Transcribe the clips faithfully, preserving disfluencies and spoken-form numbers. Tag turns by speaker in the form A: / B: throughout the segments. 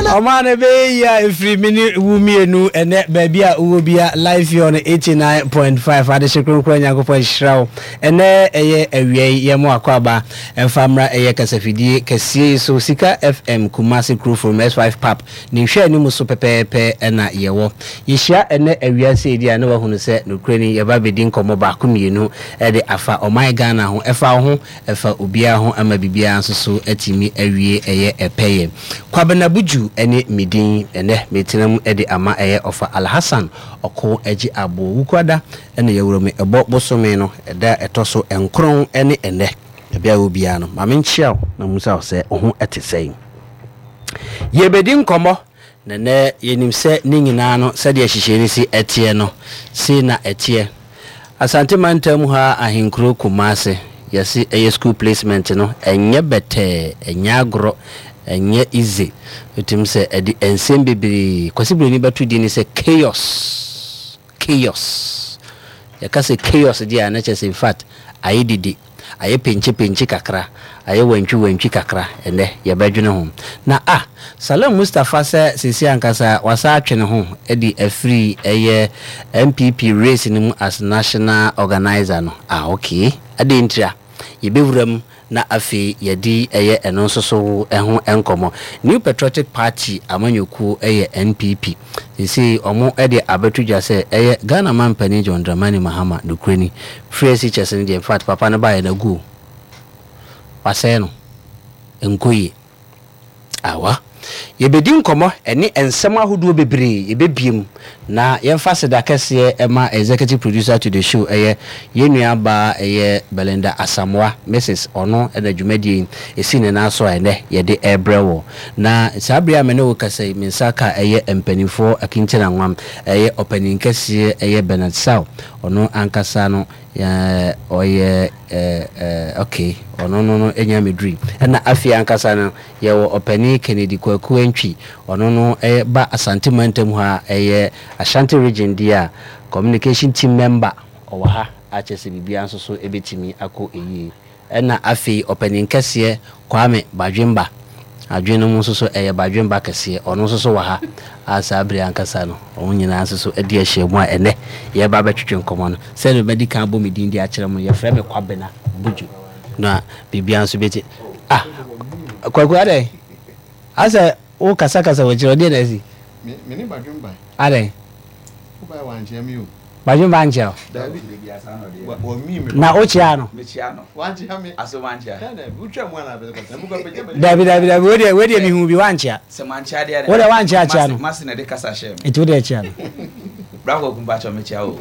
A: Ɔma no bɛyɛ yi a ɛfiri me ne wo mmienu. Ɛnɛ baabi a wowɔ bia, live here on eighty-nine point five Adehye Kronkron. Nyankopɔn hyira wo. Ɛnɛ ɛyɛ awia yi, yɛmo akɔ aba ɛmfa mmra. Ɛyɛ kasafidie kɛseɛ yi so, Sika F M Kumase Kurofrom S five Pap ne nhwɛ anim so pɛpɛɛpɛ. Ɛna yɛwɔ yɛhyia ɛnɛ awia sɛ ɛdi a, na wahunu sɛ nokorɛ ni, yɛba bɛdi nkɔmmɔ baako mmienu ɛde afa ɔman Ghana ho, ɛfa wo ho, ɛfa obiara ho, ama biribiara nso so atumi awie. Ɛyɛ ɛpɛyɛ Kwabena Buju ne medin. Ɛnɛ metena mu de ama ɛyɛ Ɔfa Alhassan Ɔko Agye Aboɔ. Wukuada ɛna yɛwura mu, ɛbɔ bosome no ɛda ɛtɔ so nkron ne ɛnɛ. Baabi a wɔ biara no, maame nkyia wo na musa wo sɛ wo ho ɛte sɛn. Yɛbɛdi nkɔmmɔ na nɛ yɛnim sɛ ne nyinaa no, sɛdeɛ hyehyɛ no si ɛteɛ no, sei na ɛteɛ. Asante Mantam ha, ahenkuro Kumase, yɛse ɛyɛ school placement no, ɛnyɛ bɛtɛɛ, ɛnyɛ agorɔ, ɛnyɛ easy. Ɛtum sɛ ɛde nsɛm bebree Kwasi Buroni bɛto din ne sɛ chaos. Chaos, yɛka sɛ chaos deɛ a, na kyerɛ sɛ in fact ayɛ didi, ayɛ penkye kakra, ayɛ wantwi wantwi kakra. Ɛnɛ yɛbɛdwene ho na ah Salam Mustapha sɛ sisi ankasa wasa atwe ne ho de afiri ɛyɛ N P P race no mu as national organizer no. Ah, okay, adeɛ ntira yɛbɛwura mu na afei yɛde ɛyɛ ɛno nso so ɛho nkɔmmɔ. New Patriotic Party amanyɔkuo, ɛyɛ N P P, sisi ɔmo ɛde abɛto dwa sɛ ɛyɛ Ghana mampanin John Dramani Mahama, nokorɛ ni, free S H S no deɛ, in fact papa no baayɛ no agu o, wasɛe no, nkɔ yie. Awa yɛbɛdi nkɔmmɔ ɛne nsɛm ahodoɔ bebree yɛbɛbie mu na yɛmfa seda kɛseɛ ɛma executive producer to the show, ɛyɛ yɛn nua baa, ɛyɛ Belinda Asamoah, Missus Ɔno ɛna dwumadie yi ɛsi ne nan so a ɛnɛ yɛde ɛrebrɛ wɔ. Na saa bere a me ne wo kasa yi, me nsa ka ɛyɛ mpanimfoɔ akinkyina nwam, ɛyɛ ɔpanin kɛseɛ, ɛyɛ Bernard Saw. Ɔno ankasa no ɔyɛ ɛɛ okay, ɔno no no ɛnya meduri. Ɛna afei ankasa no yɛwɔ ɔpanin Kennedy Kwaku Antwi. Ɔno no ɛyɛ ba Asante Mantam hɔ a ɛyɛ Ashanti Region deɛ a, communication team member ɔwɔ ha akyɛ sɛ biribiara nso so ɛbɛtumi akɔ ɛyie. Ɛna afei ɔpanin kɛseɛ Kwame Badwemba, adwene no mu nso so ɛyɛ Badwemba kɛseɛ, ɔno nso so wɔ ha a saa bere ankasa no ɔmo nyinaa nso so adi ahyia mu a ɛnɛ yɛba bɛtwetwe nkɔmmɔ no. Sɛdeɛ bɛdi kan bɔ me din de akyerɛ mu, yɛfrɛ me Kwabena Buju na biribiara nso bɛti. Ah, Kwaku, adɛn asɛ wo kasakasa wɔ kyerɛ ɔdeɛ na asi?
B: Me ne Badwemba.
A: Adɛn?
B: Wobaɛ wankyea me o.
A: Badwemba nkyɛ o?
B: Dabi. Wɔmii me.
A: Na wokyea no?
C: Mekyia no.
B: Wankyea me.
C: Aso mankyia?
B: Wotwa mu ana bɛsɛ?
A: Dabi, dabi, dabi, wedeɛ wedeɛ mehu bi, wankyea.
C: Sɛ mankyia deɛ?
A: Wo deɛ wankyia kyia no.
C: Mase na de kasa hyɛ me.
A: Nti wodeɛ kyia no.
C: Brako kumpakyɛ, mekyia o.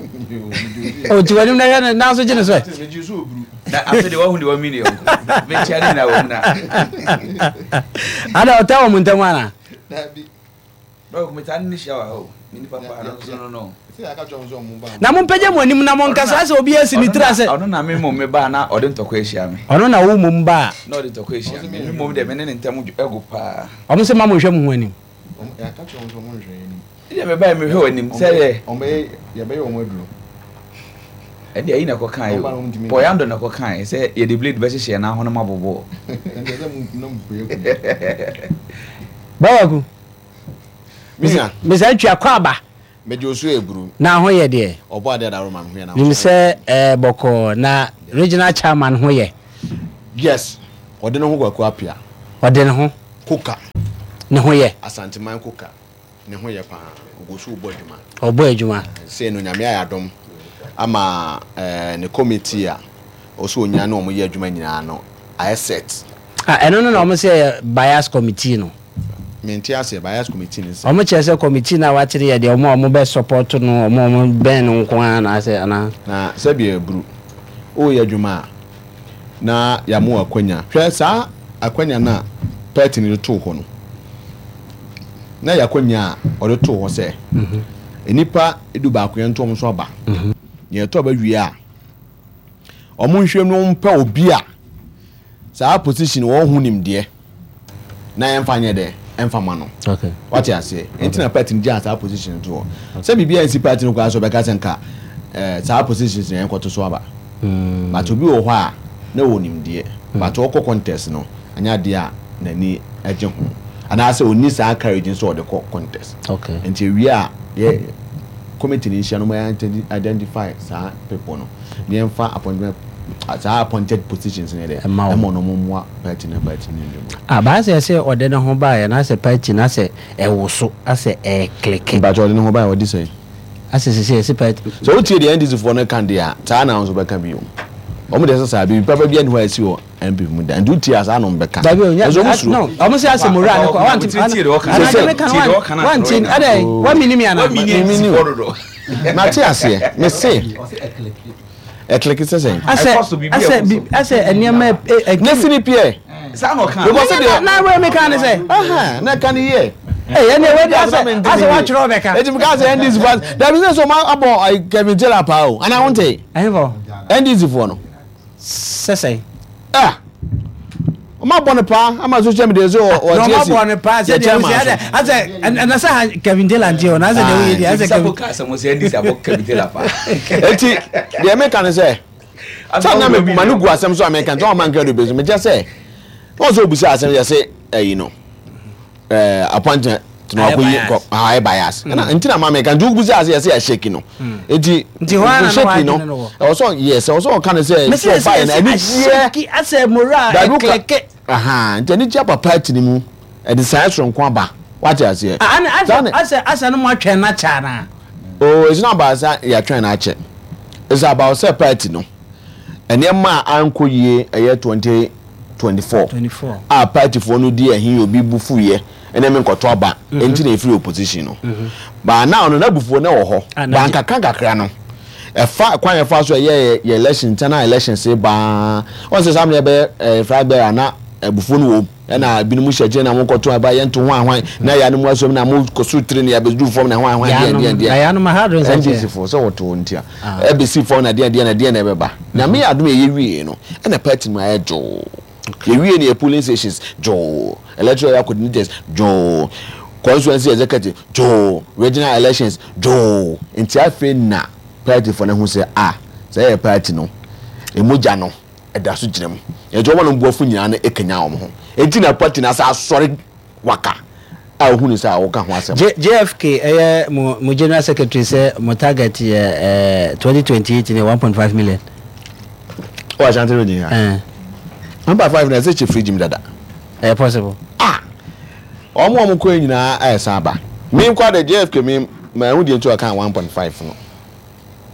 A: Ɔti w'anim na hwɛ no nanso gye ne so ɛ.
B: Megye so oburu.
C: Na afei de wahu de wami ne yɔnko mekyia ne nyinaa wɔ mu na
A: Ada ɔta wɔ mo ntam ana?
B: Dabi.
C: Brako, metaa ne ne hyia wɔ ha o, me nipa paa no nso no no
B: Sɛ yɛaka kyerɛ wo sɛ ɔmo ba.
A: Na mompagya mo anim na monkasa sɛ obi asi ne tiri ase.
C: Ɔno na me mmom me baa na ɔde ntɔkwa ahyia me.
A: Ɔno na wo mmom ba a?
C: Na ɔde ntɔkwa ahyia me. Me mmom deɛ, me ne ne ntam ɛgo paa.
A: Ɔmo sɛ ma monhwɛ mo ho anim.
B: Yɛaka kyerɛ wo sɛ ɔmo nhwɛ anim.
C: Ɛdeɛ mebaa mehwɛ wɔ anim sɛ yɛ
B: Ɔmbɛyɛ, yɛbɛyɛ ɔmo aduro.
C: Ɛdeɛ ayi na ɛkɔ kan
B: Ɔba na ɔmo ntumi
C: o, Pɔyando na ɛkɔ kan sɛ yɛde blade bɛhyehyɛ yɛn ahonom abobɔ.
B: Ɛnti sɛ mo na mo kue kue.
A: Bawaku.
B: Mia.
A: Mesa ntwa kɔ aba.
B: Megye osu eburu.
A: Na ho yɛ deɛ?
B: Ɔbɔ adeɛ adaro ma me ho yɛ na.
A: Nim sɛ ɛɛ bɔkɔɔ na regional chairman ho yɛ?
B: Yes. Ɔde ne ho Kwaku Apia.
A: Ɔde ne ho.
B: Koka.
A: Ne ho yɛ?
B: Asanteman Koka. Ne ho yɛ paa. Ogu so bɔ adwuma.
A: Ɔbɔ adwuma.
B: Sei no Nyame ayɛ adom ama ɛɛ ne committee a ɔsɛ onya ne ɔmo yɛ adwuma nyinaa no ayɛ set.
A: Ah, ɛno no na ɔmo sɛ yɛ bias committee no?
B: Mente aseɛ, bias committee ne sɛ?
A: Ɔmo kyerɛ sɛ committee no a wakyerɛ yɛ deɛ, ɔmo a ɔmo bɛ support no, ɔmo a ɔmo bɛn no nko ara na asɛ anaa?
B: Na sɛbi aburu woyɛ adwuma a na yɛamo akwanya, hwɛ saa akwanya no a party no de too hɔ no, na yɛ akwanya a ɔde too hɔ sɛ nnipa du baako yɛnto ɔmo so aba. Nea ɛtɔ aba wie a, ɔmo nhwɛ no mpɛ obi a saa position wɔn ho nimdeɛ na yɛmfa nyɛ dɛ ɛmfa ma no.
A: Okay
B: wate aseɛ? Nti na party no gyaa saa position to hɔ sɛ biribi a nsi party no koraa so ɔbɛka sɛ nka ɛɛ saa positions na yɛnkɔto so aba.
A: Mm.
B: But obi wɔ hɔ a na wɔ nimdeɛ, but ɔkɔ contest no, anyɛ adeɛ a n'ani gye ho. Anaasɛ ɔnni saa courage nso ɔde kɔ contest.
A: Okay.
B: Nti ewie a, yɛ committee ni nhyia no, mo identify saa people no ne yɛmfa appointment, saa appointed positions ne dɛ
A: ɛma
B: ɛma ɔno mo mmoa party na party ne ndwuma.
A: Ah, baa sɛ sɛ ɔde ne ho baeɛ na sɛ party na sɛ ɛwo so asɛ ɛɛclick.
B: Mpakyɛ, ɔde ne ho baeɛ, ɔde sɛn?
A: Asɛ sɛ sɛ ɛsɛ party.
B: Sɛ wotie deɛ N D C foɔ no ka deɛ a, saa na nso bɛka bio. Ɔmo deɛ sɛ saa biribi papa bi ani hɔ a ɛsi wɔ N P P mu da, nti wotie a, saa na ɔmo bɛka.
A: Dabi o, nya.
B: Ɛnso ɔmo suro.
A: No, ɔmo sɛ asɛ mowura ne kɔ wanti.
C: Tie deɛ ɔka.
A: Anadwo meka
C: Tie deɛ ɔka
A: no
C: na
A: wanti
C: atwerɛ.
A: Ɛdɛ wamini mi ana?
C: Wamini
B: Mimini.
C: N D C foɔ dodo.
B: Mate aseɛ, me se ɛclick sɛ sɛn?
A: Asɛ
C: Ɛkɔ so, biribi
A: asɛ
C: ɛkɔ so.
A: bi asɛ nneɛma ɛ ɛ
B: Ne si ni piɛ.
C: Saa na ɔka.
B: Because
A: na na wei meka ne sɛ
B: Aha, na ka ne yie.
A: Ɛyɛ ne wei de asɛ asɛ watwerɛ ɔbɛka.
B: Eti mi ka sɛ N D C foɔ dabi sɛ sɛ ɔmo abɔ ayi, Kevin Taylor paa o, ana wonte?
A: Ɛhefɔ?
B: N D C foɔ no.
A: Sɛ sɛn?
B: Ah, ɔmo abɔ no paa ama social media so ɔ
A: Na
B: ɔte
A: ɔmo
B: esi
A: abɔ ne paa sɛ
B: yɛ
A: deɛ
B: chairman
A: wosi
B: so.
A: asɛ asɛ ɛna sɛ ha Kevin Taylor nti o na asɛ deɛ woyɛ deɛ asɛ
C: Sɛ
A: Kevin
C: ka asɛm sɛ N D C abɔ Kevin Taylor paa.
B: Eti deɛ meka ne sɛ sɛ na me ma no gu asɛm so a meka nti ɔma nka do bɛsu mekyɛ sɛ wɔn sɛ obusa asɛm yɛ sɛ ɛyi no, ɛɛ appointment na
A: Ayɛ
B: wakɔ yi
A: bias.
B: kɔ ayɛ bias, ɛna nti na ma meka nti obusa asɛm yɛ sɛ yɛ shake no, eti
A: Nti hɔ ara na
B: shake
A: wadwene
B: no
A: no wɔ.
B: ɛwɔ sɛ yes, ɛwɔ sɛ ɔka ne sɛ
A: mesi
B: sɛ
A: sɛ
B: ɔbaeɛ no
A: sɛ
B: ani gyeɛ
A: ahyɛki asɛ mowura
B: dabi woka
A: ɛclick.
B: Aha, nti ani gye aba party no mu, ɛde saa soronko aba, wate aseɛ?
A: Ana
B: Saa
A: asɛ
B: ne-
A: asɛ asɛ no mo atwɛn na kyɛ ana?
B: Oh, it's not about sɛ yɛatwɛn no akyɛ, it's about sɛ party no nneɛma a ankɔ yie ɛyɛ twenty twenty-four
A: twenty-four.
B: A partyfoɔ no di ɛhin obi bu fuyɛ ɛna mi nkɔtɔ aba nti na efiri opposition no baa now no, n'abufuo no wɔ hɔ.
A: Ah, na
B: baa
A: gye-
B: nkakra nkakra no, ɛfa kwan yɛfa so ɛyɛ yɛ yɛ election, internal election se baa wɔn sɛ saa mi yɛ ɛɛ flag bearer na abufuo no wɔ mu, ɛna ebinom hyɛ akyire na mo nkɔtɔ aba yɛn to ho ahwan na yɛ anum asom na mo kɔ so tiri na yɛabɛduru fam na ho ahwan deɛ deɛ deɛ.
A: Na yanom ha do nsɛ
B: N D C foɔ sɛ wɔto wɔn ti a ɛbɛsi fam na deɛ deɛ na deɛ na ɛbɛba na me adum yɛ wie no, ɛna party mu ayɛ dwoo. Yɛwie ne yɛ polling stations dwoo, electoral area coordinators dwoo, constituency executive dwoo, regional elections dwoo. Nti afei na party foɔ no ho sɛ a sɛ ɛyɛ party no emogya no ɛda so gyina mu, nti wɔn no buafo nyinaa no ekanya wɔn ho, eti na party no asa asɔre waka a ohun sɛ a wɔka ho asɛm.
A: J JFK ɛyɛ mo mo general secretary sɛ mo target yɛ ɛɛ twenty twenty eight ne one point five million.
B: Wɔ Ashanti Region ha?
A: Ɛɛ.
B: One point five na ɛsɛ kyɛ fridge mu dada.
A: Ɛyɛ possible?
B: Ah, wɔn a wɔn kɔ yi nyinaa ɛsan aba. Mi nkɔ de J F K, mi ma ɛho deɛ nti ɔka one point five no,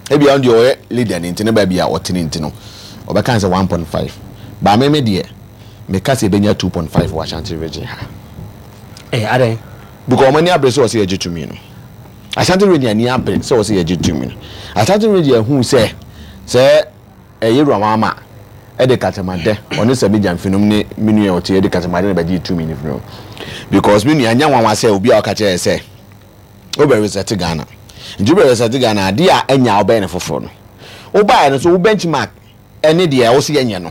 B: ebi wɔn deɛ ɔyɛ leader ne nti ne baabi a ɔte ne nti no ɔbɛka sɛ one point five. Baame mi deɛ meka sɛ ebenya two point five wɔ Ashanti Region ha.
A: Ɛɛ adan?
B: Because wɔn ani abere sɛ ɔsɛ yɛgye tumi no. Ashanti Region ani abere sɛ ɔsɛ yɛgye tumi no. Ashanti Region ehu sɛ sɛ ɛyɛ Ruwamama ɛde katamadɛ ɔne sɛ megya mfinom ne me nua ɔte ɛde katamadɛ na bɛgye tumi no firi hɔ, because me nua nya nwanwa sɛ obi a ɔka kyerɛ sɛ wobɛ reset Ghana, nti wobɛ reset Ghana adeɛ a ɛnya wobɛyɛ ne foforɔ no, wobaeɛ no so wo benchmark ɛne deɛ ɛwɔ sɛ yɛnyɛ no,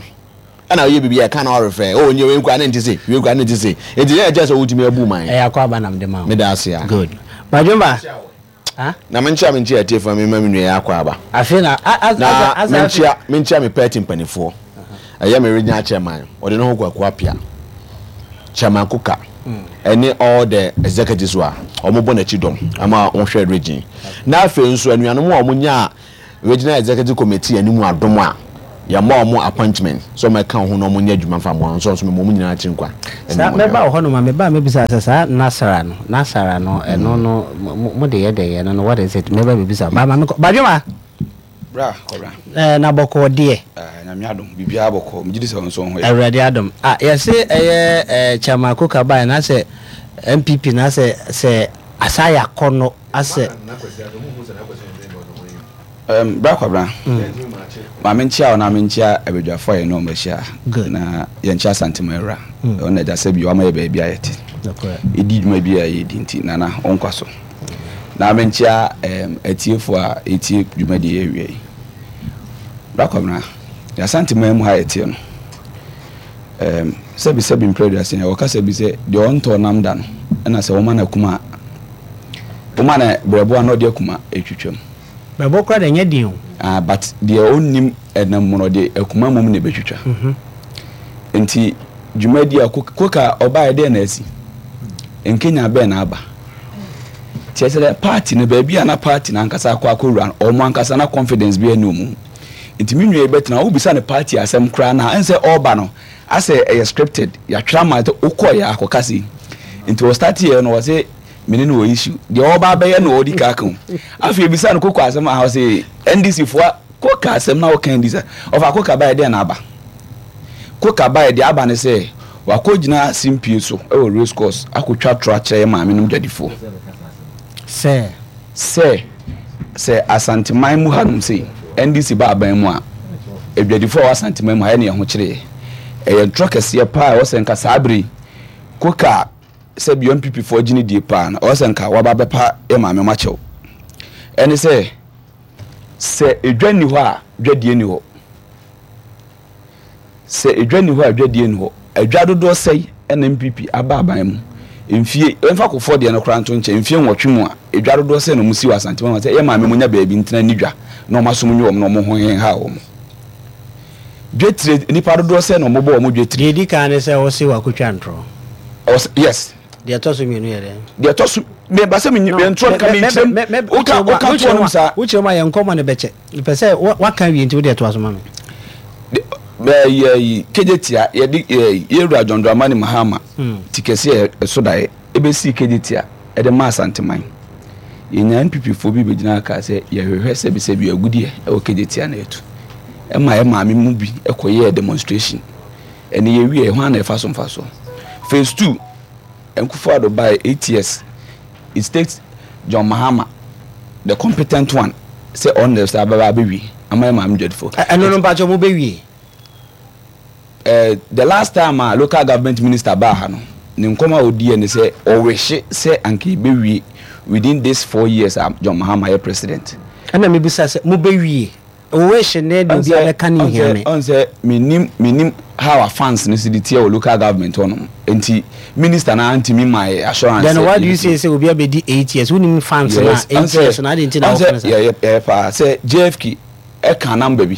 B: ɛna woyɛ biribi a ɛka na ɔrefrɛ o nyɛ wei nkura ne nte se wei nkura ne nte se, nti yɛn ɛkyɛ sɛ wotumi abu man.
A: Ɛyɛ akɔ aba nam de ma wo.
B: Meda ase a.
A: Good, badwomba ah.
B: Na menkyia menkyia atiefoɔ, mema me nua yɛ akɔ aba.
A: Afei na a a
B: na
A: asa
B: menkyia menkyia me party mpanimfoɔ, ɛyɛ me regional chairman ɔde ne ho Kwaku Apia, Chairman Kuka, ɛne all the executives a wɔn bɔ n'akyi dɔm ama wɔhwɛ region. Na afei nso anuanom a wɔn nya regional executive committee anim adom a yɛma wɔn appointment sɛ wɔn ɛka wɔn ho na wɔn nyɛ adwuma fa mo nso nso mo wɔn nyinaa akyi nkwa.
A: Saa mɛba wɔ hɔnom a meba a mɛbisa sɛ saa nasara no nasara no ɛno no mo mo de yɛ dɛ yɛ no no, what is it? Mɛba bɛbisa ba ma mekɔ badwoma.
C: Bra kɔbra.
A: Ɛɛ na bɔkɔɔ deɛ?
C: Ah, Nyame adom, biribiara bɔkɔɔ. Megye di sɛ wo nso wo ho yɛ.
A: Awurade adom ah, yɛse ɛyɛ ɛɛ Chairman Koka baa na sɛ N P P na sɛ sɛ asa yɛ akɔnɔ asɛ.
C: Um, bra kwabra, ma menkyia wo na menkyia abadwafoɔ a yɛne ɔmo ahyia.
A: Good.
C: Na yɛnkyia Asantema awura.
A: Mm.
C: Ɔno na agya sɛ bi wama yɛ baabi a yɛte
A: Nokorɛ.
C: ɛdi dwuma bi a yɛdi, nti nana ɔnkwa so. Na menkyia um, atiefoɔ a ɛtie dwumadie yɛ awie yi. Bra kwabra, yɛasantema mu ha yɛteɛ no, um, sɛbi sɛbi mprɛ aduasa yɛ wɔka sɛ bi sɛ deɛ ɔntɔ nam da no, ɛna sɛ wɔma no akuma a wɔma no brɛboa na ɔde akuma ɛtwitwam.
A: Bɛbɔ kora de nyɛ den o.
C: Ah, but deɛ ɔnnim ɛnam mu no, ɔde akuma mom na ɛbɛtwitwa. Nti dwumadi a Koka ɔbaeɛ deɛ na asi Nkenya bɛn na aba? Kyerɛ sɛ dɛ party no, baabi a na party no ankasa akɔ akɔwura no, ɔmo ankasa na confidence bi ɛne ɔmo mu. Nti me nua yi bɛtena, wobisa no party asɛm koraa na ɛnsɛ ɔreba no asɛ ɛyɛ scripted, yɛatwerɛ ama sɛ wokɔɔ yɛ akɔka sei. Nti ɔstart yɛ no, ɔse mene no wɔ issue deɛ ɔba abɛyɛ no, ɔdi ka ka ho. Afei ebisa no koko asɛm a, ɔse N D C foɔ koka asɛm na wɔka N D C ɔfa koka baayɛ deɛ na aba koka baayɛ deɛ aba ne sɛ wakɔ gyina simpie so ɛwɔ race course akɔtwa toro akyerɛ yɛ maame nom dwadifoɔ
A: sɛ
C: sɛ sɛ Asanteman mu hanom sei N D C ba aban mu a, adwadifoɔ a wɔ Asanteman mu ha ɛne ɛho kyerɛ ɛyɛ ntorɔ kɛseɛ paa. Ɛwɔ sɛ nka saa bere koka sɛ bi N P P foɔ gyine die paa no, ɛwɔ sɛ nka waba bɛpa yɛ maame mo akyɛw. Ɛne sɛ sɛ edwa ni hɔ a, dwadie ni hɔ. Sɛ edwa ni hɔ a, dwadie ni hɔ. Adwa dodoɔ sɛi ɛna N P P aba aban mu mfie, ɛmfa kofoɔ deɛ no koraa nto nkyɛn, mfie nwɔtwe mu a, edwa dodoɔ sɛ na ɔmo si wɔ Asantema sɛ yɛ maame mo nya baabi ntena ni dwa na ɔmo asom nye wɔn na ɔmo ho hen ha wɔn. Dwetire, nipa dodoɔ sɛ na ɔmo bɔ ɔmo dwetire.
A: Deɛ ɛdi kan ne sɛ wose wakɔtwa ntorɔ.
C: Ɔsɛ yes.
A: Deɛ ɛtɔ so mmienu yɛ dɛn?
C: Deɛ ɛtɔ so meba sɛ menyi ntorɔ nka menkyerɛm woka woka toɔ nom saa.
A: Wokyerɛ mu a, yɛ nkɔmmɔ ne bɛkyɛ mepɛ sɛ wa- waka wie, nti wode ɛtoa so ma me.
C: Yɛ Kejetia, yɛde yɛwura John Dramani Mahama
A: Hmm.
C: ti kɛseɛ ɛso daeɛ ɛbɛsii Kejetia ɛde ma Asanteman. Yɛnya N P P foɔ bi bɛgyina aka sɛ yɛhwehwɛ sɛbisɛbi agudeɛ ɛwɔ Kejetia na yɛtu ɛma yɛ maame mu bi ɛkɔyɛɛ demonstration. Ɛne yɛwie, ɛho ana ɛfa so mfa so. Phase two, Akufo Addo by eight years, it takes John Mahama, the competent one, sɛ ɔno na sɛ abɛba abɛwie ama yɛ maame dwadifo.
A: Ɛ- ɛno no mpakyɛ mobɛwie?
C: uh, the last time a local government minister baa ha no, ne nkɔm a odiiɛ ne sɛ ɔwehye sɛ anka yɛbɛwie within this four years a John Mahama yɛ president.
A: Ɛna mebisa sɛ mobɛwie owehye ne de obi abɛka ne hia me.
C: Ɔn sɛ menim menim how our fans no si de teɛ wɔ local government hɔ nom, nti minister na ntumi ma yɛ assurance.
A: Then why do you say sɛ obi abɛdi eight years, wonim fans na eight years na ade nti na wɔka no saa?
C: Yɛ yɛ paa sɛ J F K ɛka number bi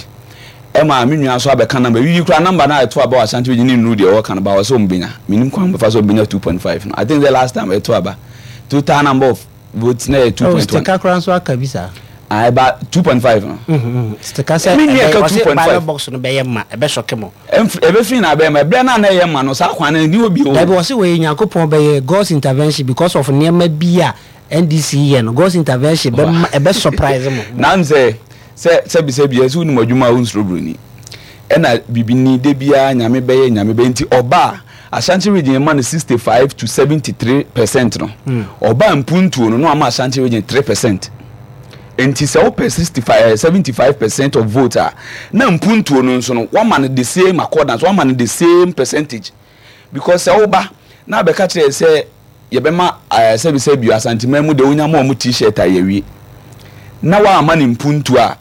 C: ɛma me nua nso abɛka number bi kura number na ɛto aba wɔ Ashanti Region ne nnuru deɛ ɔwɔ kan ba wɔ sɛ ɔmo benya. Menim kwan bɛfa sɛ ɔmo benya two point five no. I think the last time ɛto aba, total number of votes na yɛ two
A: Oh,
C: point one.
A: Stika koraa nso aka bi saa.
C: Ah, ɛba two point five no.
A: Stika sɛ
C: Me nua
A: ɛbɛyɛ-
C: ka
A: ɔse
C: two point five.
A: Ballot box no bɛyɛ ma ɛbɛsɔke mo.
C: Ɛmf ɛbɛfiri na abɛyɛ ma ɛbrɛ na na ɛyɛ ma no saa kwan no ni hɔ bio.
A: Dabi, wɔse wɔyɛ Nyankopɔn bɛyɛ God's intervention because of nneɛma bi a N D C yɛ no, God's intervention bɛma ɛbɛ surprise mo.
C: Nam sɛ sɛ sɛbi sɛbi ɛsɛ wonim adwuma a wonsuro buroni ɛna bibini de biara Nyame bɛyɛ, Nyame bɛyɛ. Nti ɔba a, Ashanti Region ma no sixty five to seventy three percent no. Ɔba mpuntuo no na wama Ashanti Region three percent. Nti sɛ wopɛ sixty five, seventy five percent of vote a, na mpuntuo no nso no wama no the same accordance, wama no the same percentage, because sɛ woba na abɛka kyerɛ sɛ yɛbɛma ɛɛ sɛbi sɛbi Asanteman mu de wonya ma ɔmo T-shirt a yɛwie na wama ne mpuntuo a,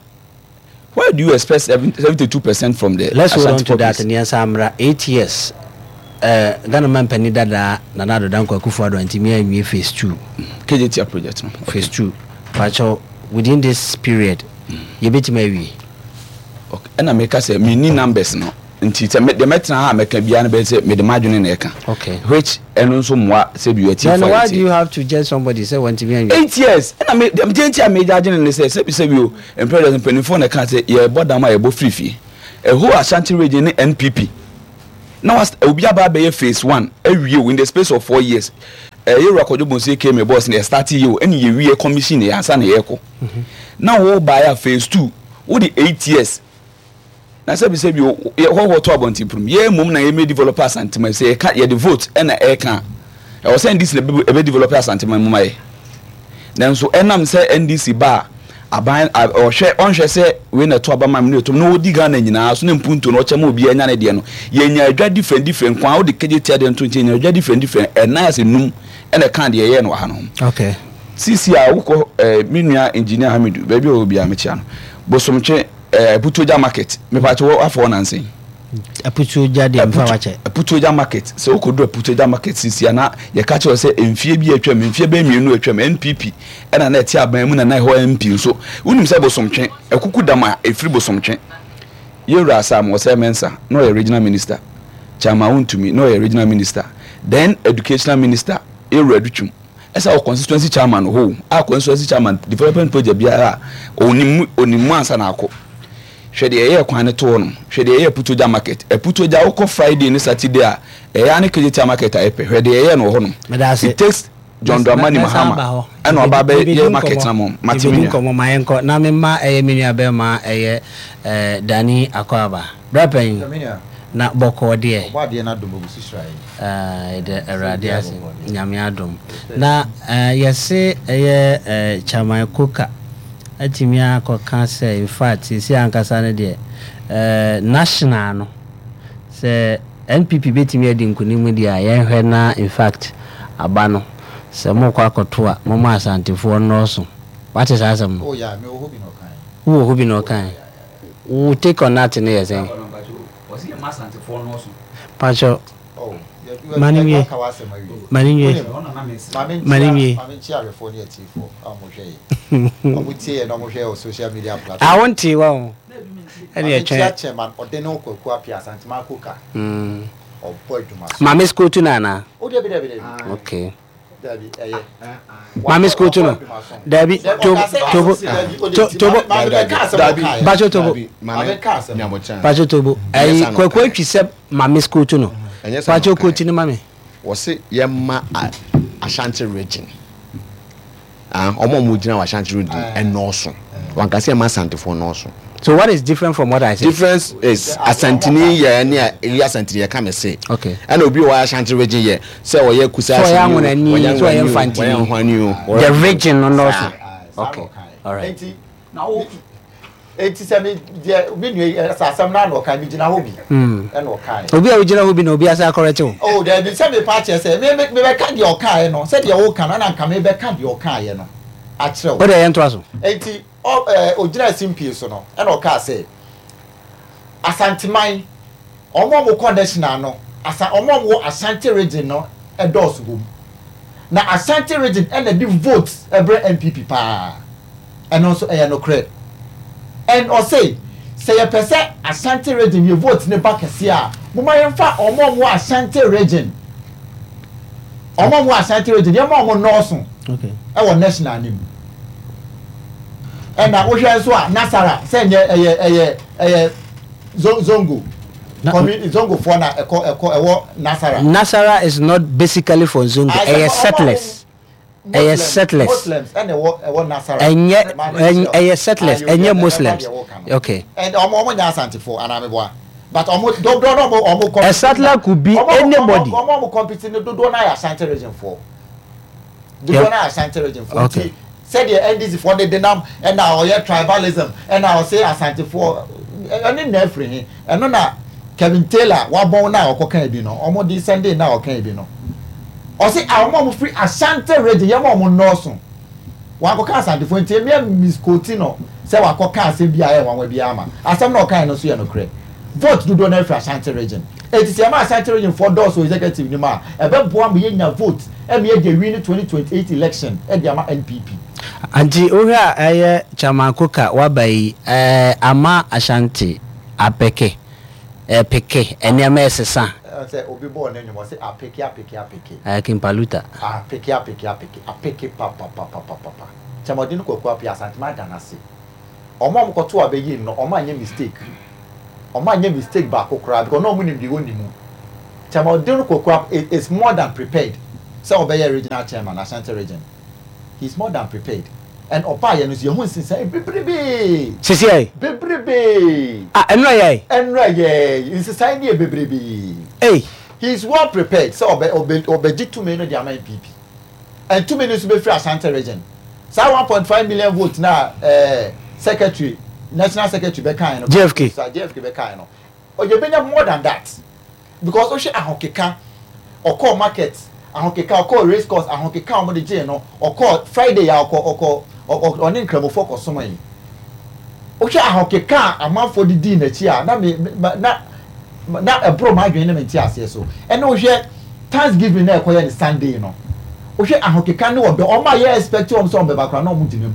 C: why do you expect seventy two percent from the
A: Let's hold on
C: Ashanti
A: to that.
C: populace?
A: Nneɛnsa mmra eight years, uh, Ghana man panin dadaa Nana Addo Dankwa Akufo-Addo antumi anwie phase two.
C: Kejetia project no.
A: Phase two, pakyɛw, within this period yɛbɛtumi awie?
C: Okay. Ɛna meka sɛ menni numbers no, nti sɛ me- deɛ mɛtena ha a mɛka biara no bɛyɛ sɛ mede m'adwene na ɛka,
A: okay
C: which ɛno nso mmoa sɛ bi ɛti.
A: Then why do you have to judge somebody sɛ wantumi anwie?
C: Eight years ɛna me deɛ nti a megya adwene ne sɛ sɛbi sɛbi o mpɛrɛ mpanimfoɔ na ɛka sɛ yɛbɔ dam a yɛbɔ firi fie. Ɛho Ashanti Region ne N P P na was obi aba abɛyɛ phase one awie o in the space of four years. Ɛyɛ Ewura Kwadwo Bonsu aka me boss na yɛ start yie o, ɛna yɛwie commission yɛ ansa na yɛkɔ na wo baeɛ a phase two wode eight years na sɛbi sɛbi o yɛ hɔhoɔ to abɔnten pum yɛ mmom na yɛmɛ develop Asantema. Sɛ yɛka yɛde vote ɛna ɛka ɛwɔ sɛ N D C na ɛbɛ develop Asantema mu ma yɛ, nanso ɛnam sɛ N D C ba a aban ɔhwɛ ɔnhwɛ sɛ wei na ɛto aba ma mi na ɛto na ɔdi Ghana nyinaa so ne mpuntuo na ɔkyɛ ma obiara nya ne deɛ no. Yɛnya adwa different different kwan wode kegye tia deɛ nto nkyɛn, yɛnya adwa different different ɛnan ase num ɛna ɛka deɛ ɛyɛ no wɔ ha no ho.
A: Okay
C: sisi a wokɔ ɛɛ me nua Engineer Hamidu, baabi a ɔwɔ biara mekyia no, Bosomtwe ɛɛ Putuogya market, mepatɛ wɔ afɔ nansen.
A: Aputuogya deɛ, mfa wakyɛ.
C: Putuogya market, sɛ wokɔdu Aputuogya market sisi a, na yɛka kyerɛ sɛ mfie bi atwam, mfie bɛyɛ mmienu atwam, N P P ɛna na ɛte aban mu na na ɛhɔ M P nso wonim sɛ Bosomtwe ɛkuku dam a ɛfiri Bosomtwe, yɛwura Sam Ɔsɛ Mensa na ɔyɛ regional minister, Chairman Wontumi na ɔyɛ regional minister, then educational minister. Yɛwura Adutwum ɛsɛ wɔ constituency chairman hɔ a, constituency chairman development project biara a onim onim mu ansa na akɔ. Hwɛ deɛ ɛyɛ kwan ne to hɔ nom, hwɛ deɛ ɛyɛ Putogya market. Ɛputogya wokɔ Friday ne Saturday a, ɛyɛ ane Kejetia market a ɛpɛ. Hwɛ deɛ ɛyɛ no wɔ hɔ nom. It takes John Dramani Mahama ɛna ɔba bɛyɛ market na mo mate me nua.
A: Nkɔmmɔ ma yɛnkɔ na mema ɛyɛ me nua bɛrima ɛyɛ ɛɛ Dani Akɔaba brɛpɛn na bɔkɔɔ deɛ.
D: Ɔbɔ adeɛ no adom ogu so hyira yɛn.
A: Ɛdɛ Awurade ase, Nyame adom na yɛse ɛyɛ Chairman Koka atumi akɔka sɛ in fact sisi ankasa no deɛ, national no, sɛ N P P bɛtumi adi nkonim deɛ a, yɛnhwɛ na in fact aba no sɛ mokɔ akɔto a, moma Asantefoɔ nnɔɔso. Wate saa asɛm no?
D: Oh yeah, mewɔ hɔ bi na ɔkae.
A: Wowɔ hɔ bi na ɔkae. Wo take on that ne yɛ sɛn? Pakyɛ mane nwie, mane nwie, mane nwie.
D: Maame nkyia ahwɛfoɔ ne atiefoɔ a wɔhwɛ yɛ, ɔmo tie yɛ na ɔmo hwɛ wɔ social media platform.
A: A wonte wa o, ɛne
D: Maame
A: ɛtwɛn.
D: Nkyia chairman ɔde ne Kwaku Apia Asantema Koka, ɔbɔ adwuma so.
A: Maame skotu no anaa?
D: O, dabi, dabi, dabi.
A: Okay.
D: Dabi, ɛyɛ.
A: Maame skotu no, dabi, tobo, tobo, tobo, bacho tobo. Bacho tobo, ɛyi Kwaku Atwi sɛ maame skotu no. Bacho koti no ma me.
B: Wɔsi yɛma Ashanti Region, ɔmo a ɔmo gyina wɔ Ashanti Region ɛnɔɔso. Wankasi ɛma Asantefoɔ nɔɔso.
A: So what is different from what I said?
B: Difference is Asantini yɛ ɛne a eyi Asantini yɛ ka mi se.
A: Okay.
B: Ɛna obi wɔ Ashanti Region yɛ sɛ ɔyɛ Kusa.
A: So ɔyɛ Anwonani, so ɔyɛ Mfantini.
B: Ɔyɛ Nhwani
A: o. The region no nɔɔso. Okay, all right.
D: Eti sɛ mi deɛ, mi nua yi ɛsɛ asɛm naa na ɔka mi gyina hɔ bi ɛna ɔka yɛ.
A: Obi a ogyina hɔ bi na obi asa akɔrɛte o.
D: Oh dabi, sɛ mi pa kyerɛ sɛ mi mi mi bɛ ka deɛ ɔka yɛ no, sɛ deɛ ɔka no ɛna nka mi bɛ ka deɛ ɔka yɛ no akyerɛ
A: o. O de yɛn to aso.
D: Eti ɔ ɛɛ ogyina simpie so no, ɛna ɔka sɛ Asanteman, ɔmo a ɔmo kɔ national no, asa ɔmo a ɔmo wɔ Ashanti Region no ɛdɔɔso wɔ mu, na Ashanti Region ɛna de vote ɛbrɛ N P P paa. Ɛno nso ɛyɛ nokorɛ. And ɔse sɛ yɛpɛ sɛ Ashanti Region yɛ vote ne ba kɛseɛ a, moma yɛmfa ɔmo a ɔmo wɔ Ashanti Region, ɔmo a ɔmo wɔ Ashanti Region, yɛma ɔmo nɔɔso ɛwɔ national ne mu. Ɛna wohwɛ nso a, Nasara sɛ nyɛ ɛyɛ ɛyɛ ɛyɛ Zongo community, Zongofoɔ na ɛkɔ ɛkɔ ɛwɔ Nasara.
A: Nasara is not basically for Zongo, ɛyɛ settlers, ɛyɛ settlers.
D: Muslims ɛna ɛwɔ ɛwɔ Nasara.
A: Ɛnyɛ, ɛyɛ settlers, ɛnyɛ Muslims, okay.
D: Ɛn ɔmo ɔmo nyɛ Asantefoɔ anaa, but ɔmo dodoɔ na ɔmo ɔmo
A: A settler could be anybody.
D: Ɔmo ɔmo compete no, dodoɔ na yɛ Ashanti Region foɔ, dodoɔ na yɛ Ashanti Region foɔ. Nti sɛdeɛ N D C foɔ de denam ɛna ɔyɛ tribalism, ɛna ɔsɛ Asantefoɔ ɛne na efiri he, ɛno na Kevin Taylor wabɔn na ɔkɔ kan bi no, ɔmo de Sunday na ɔkan bi no, ɔsɛ a ɔmo a ɔmo firi Ashanti Region, yɛn mo a ɔmo nɔɔso, wakɔka Asantefoɔ. Nti emi misquote no sɛ wakɔka asɛm bi a ɛyɛ nwanwa bi ama asɛm na ɔkan no nso yɛ nokorɛ. Vote dodoɔ na efiri Ashanti Region, eti sɛ ɛma Ashanti Region foɔ dɔɔso executive ni mu a, ɛbɛboa mo yɛ nya vote ɛmi yɛ de win twenty twenty eight election ɛde ama N P P.
A: Nti wohwɛ a, ɛyɛ Chairman Koka waba yi ɛɛ ama Ashanti apɛkɛ ɛpeke nneɛma ɛsesa?
D: Sɛ obi bɔɔ ne nnwom, ɔsɛ apeke, apeke, apeke.
A: Ɛɛ Kimpaluta.
D: Apeke, apeke, apeke, apeke papapapapapa. Chairman no, Kwaku Apia, Asantema ada n'ase. Ɔmo a ɔmo kɔto abɛyi no, ɔmo anyɛ mistake, ɔmo anyɛ mistake baako koraa, because na ɔmo nim deɛ wɔn mu. Chairman no, Kwaku Apia is more than prepared sɛ ɔbɛyɛ regional chairman Ashanti Region. He is more than prepared, and ɔbaa yɛ no so, yɛn ho nsesan bebrebe.
A: Sisi ayi.
D: Bebrebe.
A: Ah, ɛnura yɛ.
D: Ɛnura yɛ, nsesan ni yɛ bebrebe.
A: Ee.
D: He is well prepared sɛ ɔbɛ ɔbɛ ɔbɛgye tumi no de ama N P P, and tumi no nso bɛfiri Ashanti Region. Saa one point five million vote na ɛɛ secretary, national secretary bɛka yɛn no.
A: J F K.
D: J F K bɛka yɛn no, ɔyɛ bɛnya more than that, because ɔhwɛ ahokeka, ɔkɔɔ market ahokeka, ɔkɔɔ race course ahokeka a wɔde gyee no, ɔkɔɔ Friday a ɔkɔ ɔkɔ ɔne Nkramofoɔ kɔ som yi, wohwɛ ahokeka a amanfoɔ de dii n'akyi a, na me na na ɛboro maa adwene ne me nte aseɛ so. Ɛna wohwɛ Thanksgiving na ɛkɔyɛ ne Sunday no, wohwɛ ahokeka ne ɔdɔ ɔmo a yɛ expect wɔn sɛ ɔmo bɛba koraa na ɔmo gyina mu.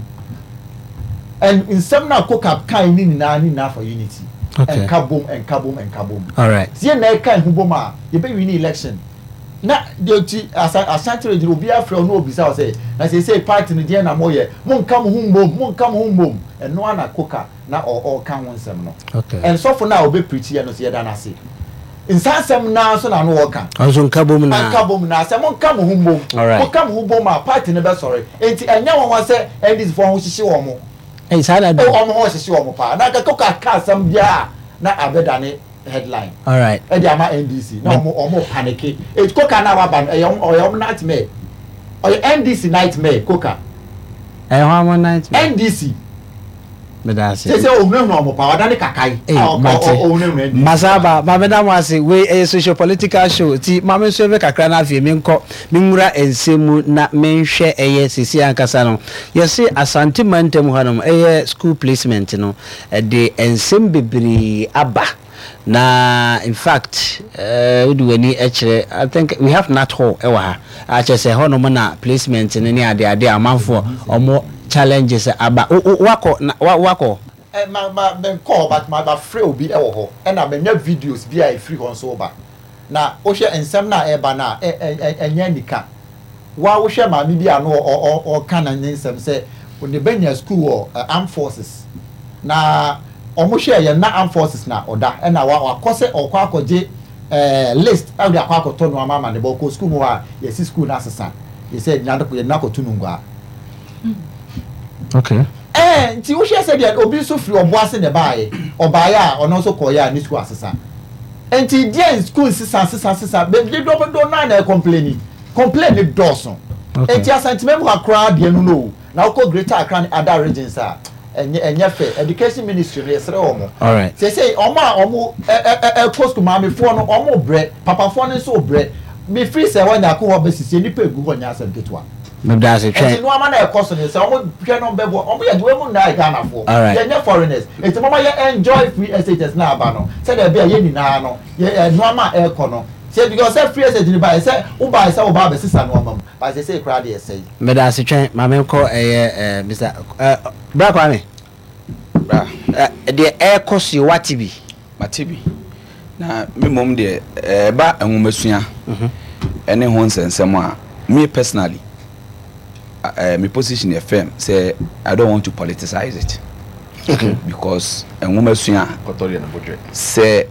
D: And nsɛm na koka kan ne nyinaa ne nyinaa for unity.
A: Okay.
D: Ɛnka bom, ɛnka bom, ɛnka bom.
A: All right.
D: Sie na ɛka ɛho bom a, yɛbɛ win election. Na deɛ ti asa Ashanti Region, obi afrɛ ɔno obisa wɔ sɛ na sɛ sɛ party no deɛ na mo yɛ, mo nka mo ho mbom, mo nka mo ho mbom. Ɛno ana Koka na ɔ ɔka ho nsɛm no.
A: Okay.
D: Ɛnsɔfo no a ɔbɛ preach yɛ no so, yɛda n'ase. Nsansɛm naa nso na no wɔka.
A: Ɔnso nka bom na.
D: Nka bom na sɛ mo nka mo ho mbom,
A: Alright.
D: mo ka mo ho bom a, party no bɛsɔre. Nti ɛnyɛ wɔn wa sɛ N D C foɔ ho hyehye wɔn mo.
A: Ɛyi saa na do.
D: Wɔn ho hyehye wɔn paa na nka Koka ka asɛm biara na abɛdane headline
A: Alright.
D: ɛde ama N D C na ɔmo ɔmo panic. Eti Koka na waba no, ɛyɛ ɔmo, ɔyɛ ɔmo nightmare, ɔyɛ N D C nightmare, Koka.
A: Ɛyɛ hɔ amɔ nightmare.
D: N D C.
A: Meda ase.
D: Sɛ sɛ ohunahuna ɔmo paa, ɔdane kakae
A: Ee,
D: a ɔ-
A: mate.
D: ɔ- ɔhunahuna N D C.
A: Masaba, maame da mo ase. Wei ɛyɛ social political show, ti maame nso ebe kakra na afei menkɔ menwura nsɛm mu na menhwɛ. Ɛyɛ sisi ankasa no, yɛse Asante mantam hanom ɛyɛ school placement no, ɛde nsɛm bebree aba. Na in fact, ɛɛ wode w'ani kyerɛ, I think we have Nat Hall ɛwɔ ha akyerɛ sɛ hɔnom na placement no ne adeade a amanfoɔ ɔmo challenges aba. Wo- wo- wakɔ na wa- wakɔ
D: Ɛ ma ma mɛ nkɔ, but ma ma frɛ obi ɛwɔ hɔ, ɛna mɛ nya videos bi a efiri hɔ nso ba. Na wohwɛ nsɛm na ɛba na ɛ ɛ ɛ ɛnyɛ nika wa. Wohwɛ maame bi a no ɔ ɔ ɔka na ne nsɛm sɛ ne bɛ nya school wɔ ɛ armed forces, na ɔmo hwɛ yɛn na armed forces na ɔda, ɛna wa wakɔ sɛ ɔkɔ akɔgye ɛɛ list ɛde akɔ akɔtɔ nneɛma ama ne bɔ ɔkɔ school mu hɔ a, yɛsi school na asesa, yɛsɛ yɛn na akɔto no ngua.
A: Okay.
D: Ɛɛ nti wohwɛ sɛ deɛ obi nso firi Ɔboase na ɛbaayɛ, ɔbaayɛ a ɔno nso kɔɔyɛ a ne school asesa. Nti deɛ school sisa sisa sisa beebi dodo naa na ɛcomplain, complain ne dɔɔso.
A: Okay.
D: Nti Asanteman mu akora deɛ no no na wokɔ Greater Accra ne other regions a, ɛnyɛ ɛnyɛ fɛ. Education Ministry no, yɛsrɛ wɔn.
A: Alright.
D: Sese ɔmo a ɔmo ɛ ɛ ɛ ɛkɔ school, maamefoɔ no ɔmo brɛ, papafoɔ no nso brɛ. Mefiri sɛ wɔnya akɔ hɔ bɛsisi nipa egu hɔ, nyɛ asɛm ketewa.
A: Meda ase.
D: Ɛnti
A: twɛn.
D: nneɛma na ɛkɔ so no, sɛ ɔmo hwɛ no bɛbɔ ɔmo yɛ de wɔn mu nyinaa yɛ Ghanafoɔ.
A: Alright.
D: Yɛnyɛ foreigners, nti mo ma yɛ enjoy free S H S na aba no, sɛdeɛ ɛbɛyɛ yɛn nyinaa no yɛ ɛ nneɛma a ɛkɔ no sɛ, because sɛ free S H S ni ba yɛ sɛ woba yɛ sɛ woba abɛsisa nneɛma mu ba sɛ sɛ ekura deɛ ɛsɛ yi.
A: Meda ase. Twɛn, maame nkɔ. Ɛyɛ ɛɛ Mister ɛɛ Bra Kwame.
C: Bra.
A: Ɛ deɛ ɛɛkɔ so yi, wate bi?
C: Mate bi, na me mmom deɛ, ɛba nwomasua ɛne ho nsɛnsɛm a, me personally, uh, me position yɛ firm sɛ I don't want to politicize it,
A: okay
C: because nwomasua,
B: Kɔtɔ deɛ ne bɔdwɛ.
C: sɛ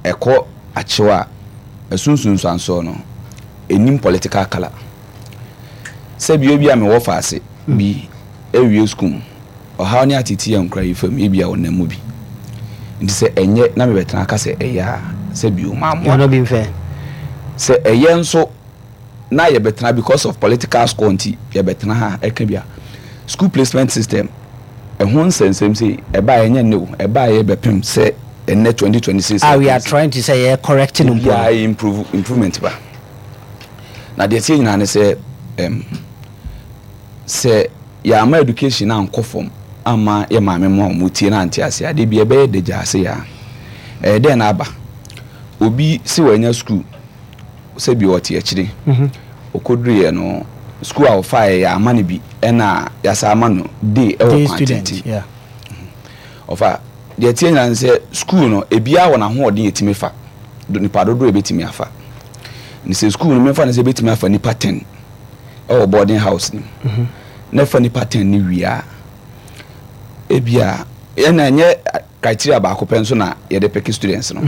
C: ɛkɔ akyew a, ɛsunsunsuansoɔ no ɛnim political colour. Sɛ bio bi a mewɔ faase bi ɛwie school mu, ɔhaw ne atete yɛ nkora yi fam, ebi a ɔnam mu bi. Nti sɛ ɛnyɛ na mebɛtena aka sɛ ɛyɛ a, sɛ bio maamoa.
A: Yɛn bi nfɛ.
C: Sɛ ɛyɛ nso na yɛbɛtena because of political score nti yɛbɛtena ha ɛka bi a, school placement system ɛho nsɛnsɛm sɛ ɛbaa, ɛnyɛ ne o, ɛbaa yɛ bɛpem sɛ ɛnɛ twenty twenty-six.
A: Ah, we are trying to say yɛ correcting mpo.
C: Biara improve, improvement ba. Na deɛ tie nyinaa ne sɛ ɛm sɛ yɛama education ankɔ fam ama yɛ maame mu a wɔn tie na ante ase adeɛ bi ɛbɛyɛ dagya ase yɛ a, ɛyɛ dɛn na aba obi si wɔanya school sɛ bi ɔte akyire, ɔkɔduruyɛ no, school a ɔfaeɛ yɛ ama no bi, ɛna yɛasa ama no day ɛwɔ
A: day
C: kwan
A: student
C: tenten.
A: Yeah.
C: Ɔfa deɛ tie nyinaa ne sɛ school no, ebiara wɔ n'ahoɔden yɛtumi fa do, nipa dodoɔ ebɛtumi afa ne sɛ school no, mɛfa ne sɛ ebɛtumi afa nipa ten ɛwɔ boarding house no mu, na ɛfa nipa ten ne wie a, ebia ɛna ɛnyɛ criteria baako pɛ nso na yɛde pick students no.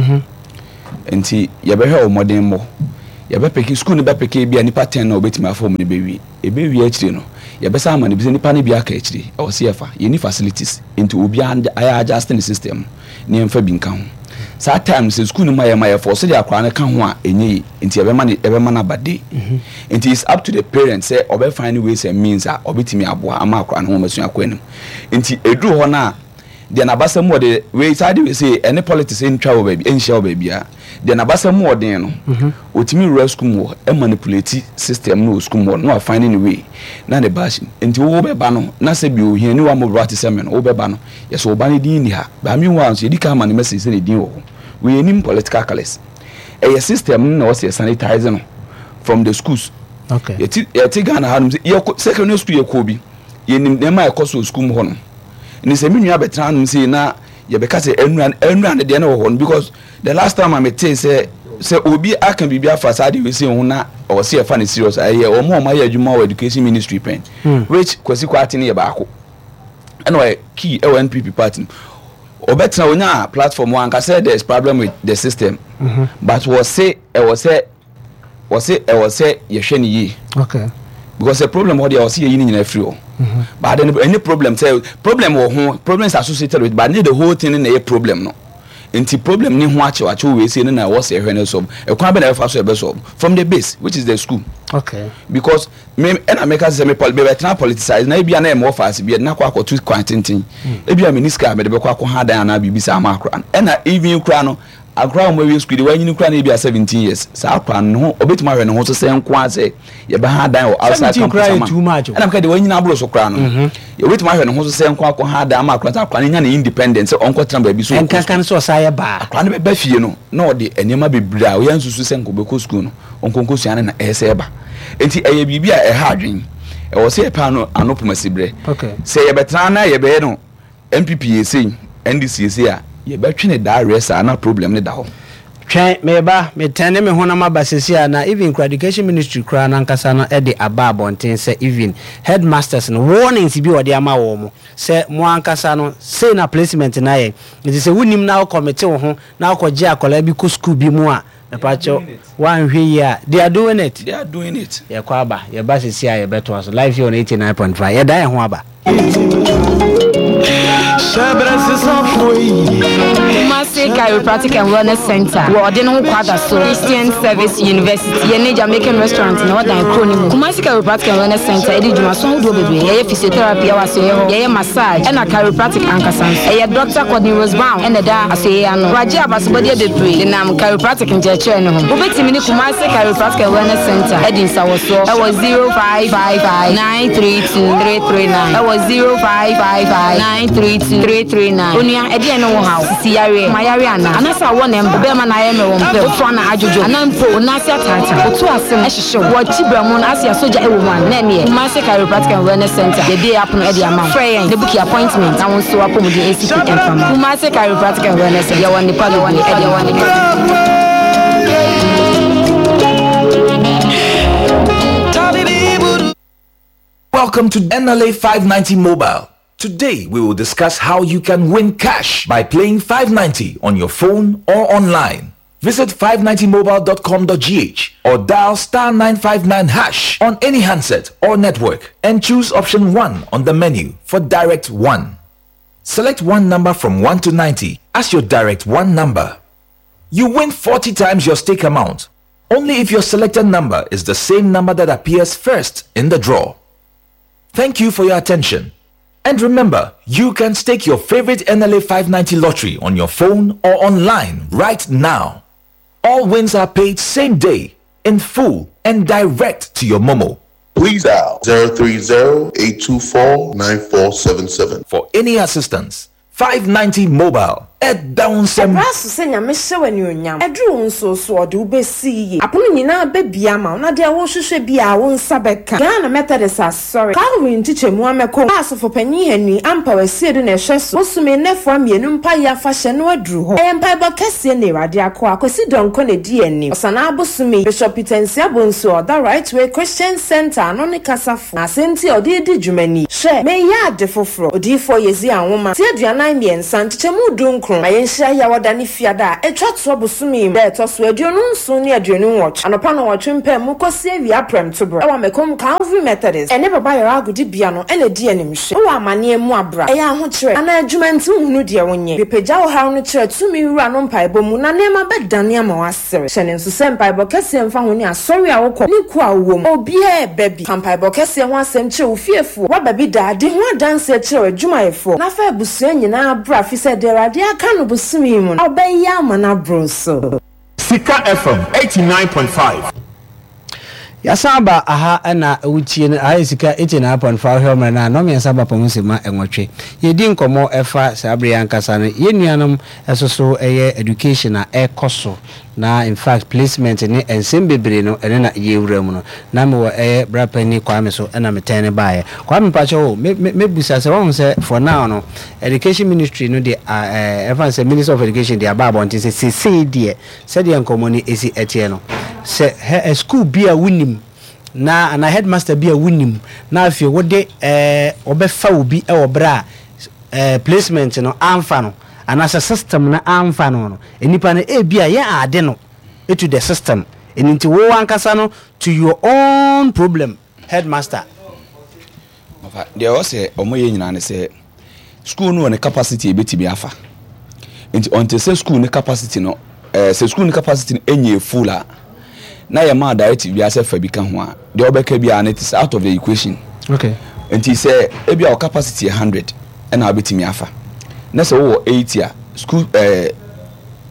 C: Nti yɛbɛhwɛ wɔn mmɔden mmɔ, yɛbɛpick school no, bɛpick bi a nipa ten na obɛtumi afa wɔn no bɛwie. Ebɛwie akyire no, yɛbɛsa ama no bi sɛ nipa no bi aka akyire, ɛwɔ sɛ yɛfa yɛni facilities, nti obiara ayɛ adjust ne system ne yɛmfa bi nka ho. Saa time sɛ school no ma yɛ ma yɛ fɔ sɛdeɛ akwaraa no ka ho a, ɛnyɛ yi nti yɛbɛma ne yɛbɛma no aba day. Nti it's up to the parent sɛ ɔbɛ find ways and means a ɔbɛtumi aboa ama akwaraa no ho ɔmasua akɔ anim. Nti ɛduru hɔ no a, deɛ n'abasa mu ɔde wei saa de wei sɛ ɛne politics ntwa wɔ baabi, ɛnhyia wɔ baabi a, deɛ n'abasa mu ɔden no, otumi wura school mu hɔ, ɛmanipulate system no wɔ school mu hɔ na wa find ne way na ne ba ahyɛ mu. Nti wo bɛba no na sɛ bi ohia ni wa mo bra te sɛ me no, wo bɛba no, yɛsɛ wo ba ne din ni ha baami wa nso yɛdi ka ama ne message sɛ ne din wɔ hɔ. Wei anim political colours, ɛyɛ system no na wɔsɛ sanitize no from the schools.
A: Okay.
C: Yɛte yɛte Ghana ha nom sɛ yɛkɔ secondary school, yɛkɔ bi, yɛnim nneɛma a ɛkɔ so wɔ school mu hɔ no. Ne sɛ me nua bɛtena hanom sei na yɛbɛka sɛ ɛnura ɛnura ne deɛ no wɔ hɔ no, because the last time a metee sɛ Sɛ obi aka biribi afa saa de wesi ho na ɔwɔ yɛfa no serious, ɛyɛ ɔmo a ɔmo ayɛ adwuma wɔ education ministry pɛn, which Kwasi Kwarteng yɛ baako, ɛna ɔyɛ key ɛwɔ N P P party no. Ɔbɛtena onya platform wɔn ankasa, there is problem with the system mm -hmm. but wɔse ɛwɔ sɛ wɔse ɛwɔ sɛ yɛhwɛ ne yie
A: okay.
C: because the problem hɔ deɛ, wɔse yɛyi ne nyinaa firi hɔ, but then any problem sɛ problem wɔ ho, problem is associated with, but ne the whole thing na ɛyɛ problem no. Nti problem ne ho akyɛw akyɛw wei sei ne na ɛwɔ sɛ ɛhwɛ ne solve. Ɛkwan bɛ na ɛbɛfa so ɛbɛ solve from the base, which is the school.
A: Okay.
C: Because me ɛna meka sɛ me pol bɛbɛtena politicize na ebia na ɛmɔ faase bi na akɔ akɔto kwan tenten, ebia me ni sika a mede bɛkɔ akɔ ha dan anaa biribi saa ama akora no. Ɛna even kora no, akora a wɔn awie school de wɔanyini kora no, ebia seventeen years saa akora no ne ho ɔbɛtumi ahwɛ ne ho so sɛ nko a sɛ yɛbɛha dan wɔ outside
A: seventeen
C: campus
A: koraa yɛ
C: ama
A: too much o.
C: Ɛna meka de wɔanyini aboro so koraa no, yɛbɛtumi ahwɛ ne ho so sɛ nko akɔ ha dan ama akora sɛ akora no nya ne independence sɛ ɔnkɔ tena baabi so ɔkɔ.
A: Ɛnkankan sɛ ɔsa yɛ baa.
C: Akora no bɛba fie no na ɔde nneɛma bebree a ɔyɛ nsusu sɛ nkɔbɛkɔ sukuu no, ɔnkɔnkɔ sua no na ɛyɛ sɛ ɛba. Nti ɛyɛ biribi a ɛha adwen, ɛwɔ sɛ yɛpɛ ano ano pomasi berɛ
A: okay.
C: sɛ yɛbɛtena na yɛbɛyɛ no N P P yɛ sei, N D C yɛ sei a, yɛbɛtwe ne daa werɛ saa na problem ne da hɔ.
A: Twɛn, meba metɛn ne me honam aba sesi a na even kora education ministry koraa nankasa no de aba abɔnten sɛ even headmasters no, warnings bi wɔde ama wɔn mo sɛ mo ankasa no sei na placement na yɛ. Nti sɛ wonim na wokɔmete wo ho na wokɔgye akwadaa bi kɔ school bi mu a, mepakyɛw, woanhwɛ yie a, they are doing it.
C: They are doing it.
A: Yɛkɔ aba, yɛba sesi a yɛbɛtoa so live here on eighty-nine point five. Yɛda yɛn ho aba.
E: Kumasi Chiropractic and Wellness Center wɔ ɔde ne ho kwada so Christian Service University, yɛne Jamaican restaurant na ɔdan kuro no mu. Kumasi Chiropractic and Wellness Center ɛde dwumaso ahodoɔ bebree. Yɛyɛ physiotherapy ɛwɔ asoeɛ hɔ, yɛyɛ massage ɛna chiropractic ankasa nso. Ɛyɛ Doctor Courtney Rose Brown ɛna ɛda asoeɛ ano. Wagye abasobɔdeɛ bebree denam chiropractic nkyerɛkyerɛ no ho. Wobɛtumi ne Kumasi Chiropractic and Wellness Center ɛdi nsawɔsoɔ ɛwɔ zero five five five nine three two three three nine, ɛwɔ zero five five five nine three two three three nine. Onua, ɛdeɛ ne wo haw? Sisi yareɛ ma yare ana anasa awɔ ne mba bɛrima na ayɛ mmerɛ wɔ mpɛ wotoa na adwodwo anaa mpo wo nan ase ataata, wotu ase no ɛhyehye wo, wɔkyi brɛ mu no ase asogya ɛwɔ mu ana, na ɛneɛ Kumasi Chiropractic and Wellness Center yɛbie apono ɛde ama wo. Frɛ yɛn na book appointment na wo nso apɔmuden esi fi ɛmfama. Kumasi Chiropractic and Wellness Center, yɛwɔ nipa bebree ɛde wɔ nipa bebree.
F: Welcome to N L A five ninety Mobile. Today we will discuss how you can win cash by playing five ninety on your phone or online. Visit five ninety mobile dot com dot G H or dial star nine five nine hash on any handset or network and choose option one on the menu for direct one. Select one number from one to ninety as your direct one number. You win forty times your stake amount only if your selected number is the same number that appears first in the draw. Thank you for your attention. And remember, you can stake your favorite N L A five ninety lottery on your phone or online right now. All wins are paid same day, in full, and direct to your Momo.
G: Please dial zero three zero, eight two four, nine four seven seven.
F: For any assistance, five ninety Mobile at Downsem.
H: Ɛberɛ so sɛ Nyame hyɛ wɔ anuonyam ɛduru wo nso so, ɔde wo bɛsi yie, apono nyinaa bɛbia ma wo na deɛ wohwehwɛ bi a wo nsa bɛka. Ghana Methodist Asɔre Calvary nkyekyɛmu amɛkɔ a asɔfopanyin Henry Ampa Wasiedu na ɛhwɛ so, bosome nnɛfoa mmienu mpayɛ afahyɛ no aduru hɔ. Ɛyɛ mpaebɔ kɛseɛ na Awurade akɔ Akwasi Dɔnkɔ na ɛdi anim. Ɔsanaa bosome, Bishop Peter Nsia Bonsu a ɔda Right Way Christian Center ano ne kasafo, na asɛnti a ɔde di dwuma ni: "Hwɛ, meyɛ ade foforɔ", odiyifoɔ Yesaia nwoma ti aduanan mmiɛnsa nkyekyɛmu du nkron. Ma yɛnhyia Yawɔda ne Fiada a ɛtwa toɔ bosome yi mu, da ɛtɔ so aduonu nson ne aduonu nwɔtwe, anɔpa no wɔtwe mpɛ mu kɔsi awia prɛmtoberɛ, ɛwɔ Mɛkom Calvary Methodist ɛne Baba Yɛrɛ agodibea no ɛna di animhwɛ. Wowɔ amanneɛ mu abra, ɛyɛ ahokyerɛ anaa adwuma nti wohunu deɛ wonyɛ, bepagya wo haw no kyerɛ tumi wura no mpaebɔ mu na nneɛma bɛdane ama woasere. Hyɛ ne nso sɛ mpaebɔ kɛseɛ mfa ho ne asɔre a wokɔ ne ku a wowɔ mu, obiaa ɛbɛ bi ka mpaebɔ kɛseɛ ho asɛm kyerɛ wo fiefoɔ, woaba bi daa de ho adanseɛ kyerɛ w'adwumayɛfoɔ na fa abusua nyinaa bra, fi sɛ deɛ Awurade aka no bosome yi mu no, ɔbɛyɛ ama no aboro so.
I: Sika F M eighty-nine point five.
A: Yɛasan aba aha ɛna wotie no. Aha yɛ Sika eighty-nine point five. Hwɛ mmerɛ no a nnɔmmiɛnsa ba pɔn sɛ ma ɛnwɔtwe, yɛdi nkɔmmɔ ɛfa saa bere yi ankasa no yɛn nuanom ɛso so ɛyɛ education a ɛkɔ so. Na in fact placement ne nsɛm bebree no ɛno na yɛwura mu no. Na mewɔ ɛyɛ bra panin Kwame so ɛna me tɛn no baeɛ. Kwame mpakyɛw o, me me mɛbusa sɛ wahu sɛ for now no education ministry no de a ɛɛ ɛmfa no sɛ minister of education de aba abɔnten sɛ sesei deɛ sɛdeɛ nkɔmmɔ no ɛsi ɛteɛ no sɛ hɛ school bi a wonim na anaa headmaster bi a wonim na afei wode ɛɛ wɔbɛfa obi wɔ berɛ a ɛɛ placement no amfa no anaasɛ system no amfa no no, nnipa no ebia yɛ ade no to the system, ɛno nti wo ankasa no to your own problem headmaster.
C: Ɔfa, deɛ ɛwɔ sɛ wɔyɛ nyinaa ne sɛ school no wɔ ne capacity a ɛbɛtumi afa. Nti until sɛ school no capacity no, eh, sɛ school no capacity no ɛnyɛ full a, na yɛmaa directive biara sɛ fa bi ka ho a, deɛ wobɛka biara no it is out of the equation.
A: Okay.
C: Nti sɛ ebi a wo capacity yɛ hundred ɛna wobɛtumi afa, na sɛ wowɔ eighty a, school eh,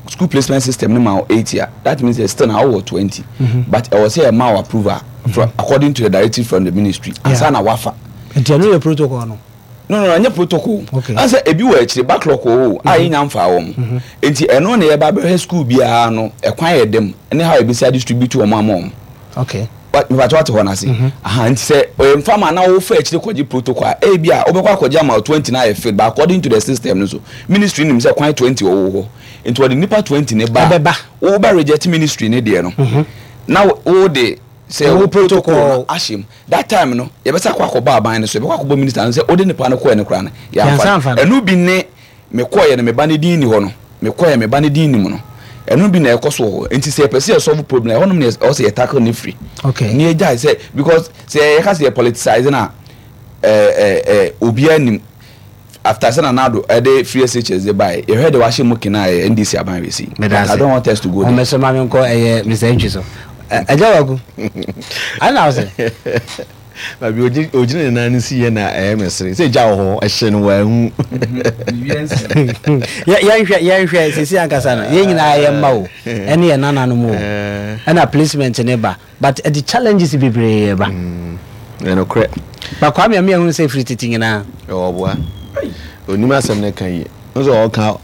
C: school placement system no ma wo eighty a, that means that still na wowɔ twenty. Mm -hmm. But ɛwɔ sɛ yɛma wo approval mm -hmm. from, according to the directive from the ministry. Yeah. Ansa na wafa.
A: Nti ɛno yɛ protocol no.
C: No no ɛnyɛ protocol.
A: Okay.
C: Ansa ebi wɔ akyire backlog wɔ hɔ a mhm. yɛnya mfaa wɔn. Mhm. Nti ɛno na yɛba bɛhwɛ school biara no ɛkwan yɛ dɛm ne how ebesi adistribute wɔn ama wɔn.
A: Okay.
C: Mepatwa wate hɔ no ase. Mhm. Aha nti sɛ ɔyɛ mfa ma na wofa akyire kɔgye protocol a ebi a wobɛkɔ akɔgye ama twenty na ayɛ filled but according to the system no so ministry nim sɛ kwan twenty wɔ hɔ nti wɔde nipa twenty ne ba
A: ɛbɛba
C: wobɛ reject ministry ne deɛ no na wo de sɛ wo protocol no ahyɛ mu that time no yɛbɛsa akɔ akɔbɔ aban no so yɛbɛkɔ akɔbɔ minister no sɛ wode nipa no kɔɛ no koraa no yɛamfa no ɛno bi ne mekɔɛ no me ba no din ni hɔ no mekɔɛ me ba no din ni mu no ɛno bi na ɛkɔ so wɔ hɔ nti sɛ yɛpɛ sɛ yɛ solve problem ɛhɔnom na ɛwɔ sɛ yɛ tackle ne firi
A: okay
C: ne yɛgyae sɛ because sɛ yɛka sɛ yɛ politicize no a ɛɛ ɛɛ obiara nim after sɛ Nana Addo ɛde free S H S de baeɛ yɛhwɛ de wahyɛ mu kena ɛyɛ N D C aban wei but I don't want us to go there.
A: Ɔmɛsɛ maame nkɔ ɛyɛ Mister Ntwi so ɛgya wagu ana ɔsɛ.
B: Baabi ogyina ne nan no si yɛ na ɛyɛ me sere sɛ gya wɔ hɔ ɛhyɛ no wɔahu.
A: Yɛnhwɛ yɛnhwɛ sisi ankasa no yɛn nyinaa yɛ mma o ɛne yɛn nananom o ɛna placement ne ba but ɛde challenges bebree ba.
B: Ɛnokorɛ.
A: Ba Kwame Amia hunu sɛ firi tete nyinaa.
B: Ɛwɔ ɔboa. Onim asɛm no ka yie. Nso ɔka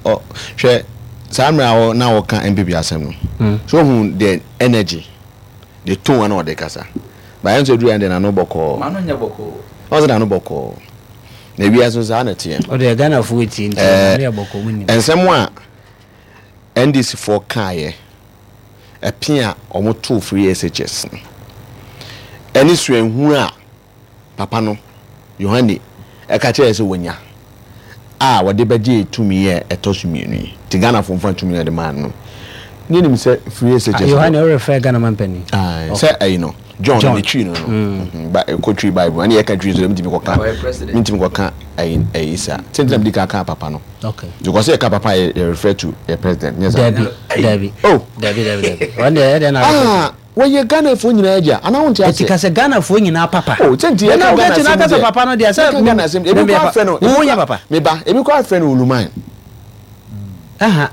B: hwɛ saa mmerɛ a na ɔka N P P asɛm no. So ohun the energy, the tone a na ɔde kasa. Ba yɛn nso aduru yɛn deɛ n'ano bɔkɔɔ.
C: M'ano nyɛ bɔkɔɔ.
B: Ɔn sɛ n'ano bɔkɔɔ. Na wiase nso saa na ɛteɛ.
A: Ɔde Ghanafoɔ etie nti n'ano yɛ bɔkɔɔ mu nim.
B: Nsɛm a N D C foɔ kaeɛ ɛpe a wɔn too free S H S no ɛne suahunu a papa no Yohane ɛka kyerɛ sɛ wɔnya a wɔde bɛgye tumi yɛ ɛtɔ so mmienu yi nti Ghanafoɔ mfa tumi no de maa no ne nim sɛ free S H S.
A: Yohane ɔrefɛ Ghana mampanin.
B: Sɛ ɛyi no John ne twi no no ba ɛkɔ twi Bible ɛne yɛka twi so mintimi kɔka mintimi kɔka ɛyi ɛyi sa sɛ ntina mi di ka ka papa no
A: okay
B: because yɛ ka papa yɛ yɛ refer to yɛ president nyɛ sa.
A: Dabi dabi.
B: Oh.
A: Dabi dabi dabi wɔn deɛ ɛdeɛ na.
B: Ah, wɔyɛ Ghanafoɔ nyinaa agya anaa wɔn ti ase.
A: Eti ka sɛ Ghanafoɔ nyinaa papa.
B: O sɛ nti yɛ ka Ghana asɛm
A: deɛ papa no deɛ sɛ
B: yɛ ka Ghana asɛm ebi kɔ afɛ no
A: wo yɛ papa.
B: Meba ebi kɔ afɛ no Oluman.
A: Aha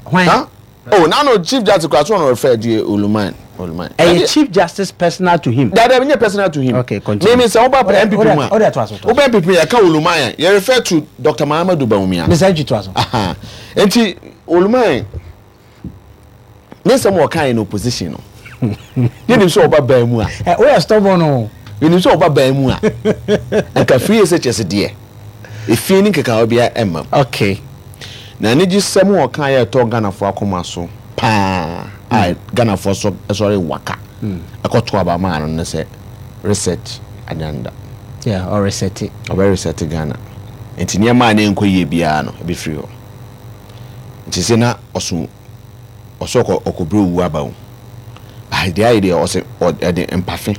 A: hwan.
B: Oh, now no Chief Justice kura so ɔno refer to Oluman. Oluman.
A: Ɛyɛ Chief Justice personal to him.
B: Dada ɛnyɛ personal to him.
A: Okay, continue.
B: Mímí sɛ ɔba N P P mu a.
A: Ɔde ato aso.
B: Ɔba N P P yɛ ka Oluman a yɛ refer to Doctor Mahamadu Bawumia.
A: Mr Ntwi to aso.
B: Nti Oluman ne nsɛm wɔ kan in opposition no yɛnim sɛ ɔba ban mu a.
A: Ɛ o yɛ stubborn o.
B: Yɛnim sɛ ɔba ban mu a nka free S H S deɛ efie ne nkekawa bi ɛmma mu.
A: Okay.
B: Na anigye sɛm a ɔka yɛ ɛtɔ Ghanafoɔ akoma so paa a Ghanafoɔ so sɔre waka ɛkɔto aba maa no ne sɛ reset agenda.
A: Yeah, ɔresɛte.
B: Ɔbɛ reset Ghana nti nneɛma a ne nkɔ yie biara no ebi firi hɔ nti sɛ na ɔso ɔsɛ ɔkɔ ɔkɔbrɛ owu aba o deɛ ayɛ deɛ ɔsɛ ɔde mpafe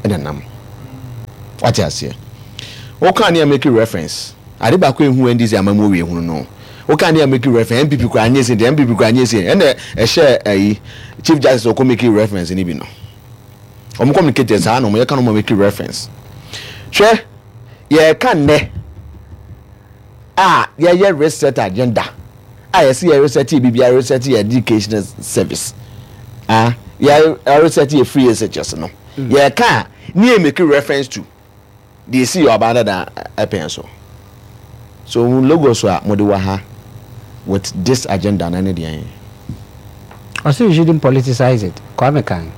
B: ɛna nam wate aseɛ. Woka ne a make reference ade baako ehu N D C amamu owie hunu no woka ne a make reference N P P kura nye se deɛ N P P kura nye se ɛna ɛhyɛ ɛyi Chief Justice ɔkɔ make reference ni bi no wɔn communicate saa na wɔn yɛ ka no wɔn make reference. Hwɛ, yɛreka nnɛ a yɛyɛ reset agenda a yɛsi yɛ reset yɛ bibi a reset yɛ education service a yɛ reset yɛ free S H S no yɛreka a ne yɛ make reference to deɛ esi yɛ ɔbaa dada ɛpɛn so so logos a mo de wɔ ha with this agenda na ne deɛ yɛn.
A: Ɔsɛ you shouldn't politicize it. Kwame kan.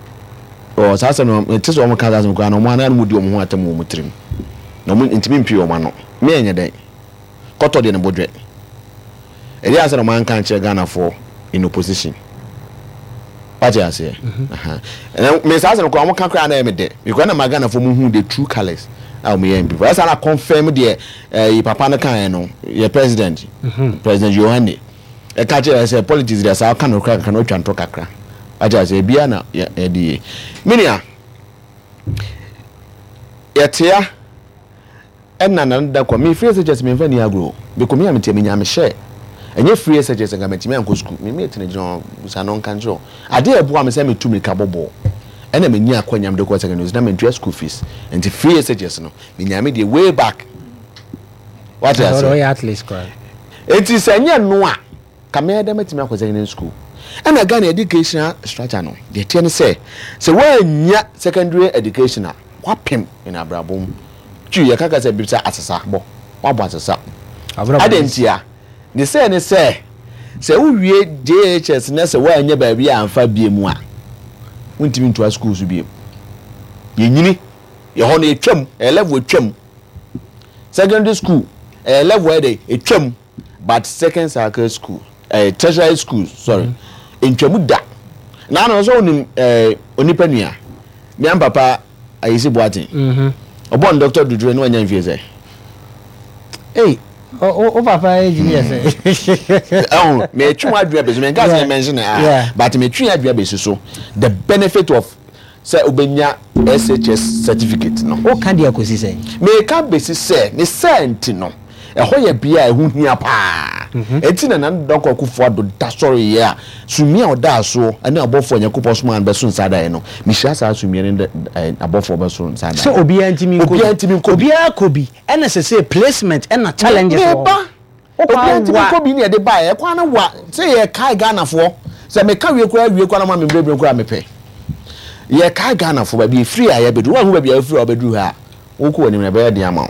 B: Ɔ saa asɛm no, mete sɛ wɔn ka saa asɛm koraa na wɔn anan mu di wɔn ho atam wɔ wɔn tirim, na wɔn ntumi mpie wɔn ano. Me ɛnyɛ dɛn kɔtɔ deɛ ne bo dwɛ. Ɛdeɛ ansa na wɔn anka nkyerɛ Ghanafoɔ in opposition. Wate aseɛ? Ɛnna me saa asɛm koraa wɔn ka koraa na ɛyɛ me dɛ because na ma Ghanafoɔ mu hu the true colours a wɔn yɛ N P P. Ɛsa na confirm deɛ ɛyi papa no kan no yɛ president, President Yohane. Ɛka kyerɛ yɛ sɛ politics deɛ saa ɔka nokorɛ kakra na ɔtwa ntorɔ kakra. Wate aseɛ? Ebia na yɛde yie. Me nua, yɛtea ɛna na da kɔ. Me free S H S memfa ni agorɔ. Mekɔ me a metia menya me hyɛ. Ɛnyɛ free S H S nka matumi ankɔ sukuu. Me mate no gyina hɔ bisa no nka nkyerɛ wo. Adeɛ a ɛboa me sɛ metu mirika bɔ bɔɔl ɛna menya akwanya mede kɔ secondary na mentua school fees. Nti free S H S no menya me deɛ way back. Wate aseɛ? Enti sɛ ɛnyɛ no a, ka mɛyɛ dɛ mɛtumi akɔ secondary school. Ɛna Ghana educational structure no, deɛ ɛteɛ ne sɛ, sɛ woannya secondary education a, woapem in abrabɔ mu. Twi, yɛka kasa bi sɛ asesa bɔ, woabɔ asesa. Adɛn ntia? Ne sɛ ne sɛ, sɛ wowie J H S na sɛ woannya baabi a amfa biem a, wontumi ntoa school so biem. Yɛnyini, yɛhɔ no yɛtwam, ɛyɛ level atwam. Secondary school ɛyɛ level ɛyɛ dɛ etwam, but second cycle school, ɛɛ tertiary school, sorry, ntwamu da. Na ano sɛ onim ɛɛ onipa nua mian papa Ayisi Boateng, ɔbɔ ne doctor dudure na wanya mfie sɛ.
A: Ei, o papa age ni yɛ sɛ.
B: Ɛho mɛtwe wɔn adwene abɛsi, mɛ nka sɛ mɛnhyɛ na ah, but mɛtwe adwene abɛsi so the benefit of sɛ wobɛnya S H S certificate no.
A: Woka deɛ kɔsi sɛ?
B: Meka bɛsi sɛ ne sɛ nti no, ɛhɔ yɛ bea a ɛho hia paa. Ɛnti na Nana Dankwa Akufo-Addo da sɔreeɛ a, sumii a ɔdaa soɔ ne abɔfoɔ a Nyankopɔn somaa no bɛso nsa daeɛ no, mehyira saa sumii no ne abɔfoɔ bɛso nsa daeɛ.
A: Sɛ obiara ntumi nkɔ bi.
B: Obiara ntumi nkɔ bi.
A: Obiara kɔ bi, ɛna sɛsɛ placement ɛna challenges wɔ hɔ.
B: Meba. Obiara ntumi nkɔ bi ne yɛde baeɛ. Ɛkwan no wa sɛ yɛkae Ghanafoɔ. Sɛ meka wie koraa wie koraa na ma me mbrɛbrɛ koraa mepɛ. Yɛkae Ghanafoɔ baabi efiri a yɛbɛduru. Woanhu baabi a wofiri a wobɛduru ha a, wokɔ w'anim no ɛbɛyɛ den ama wo.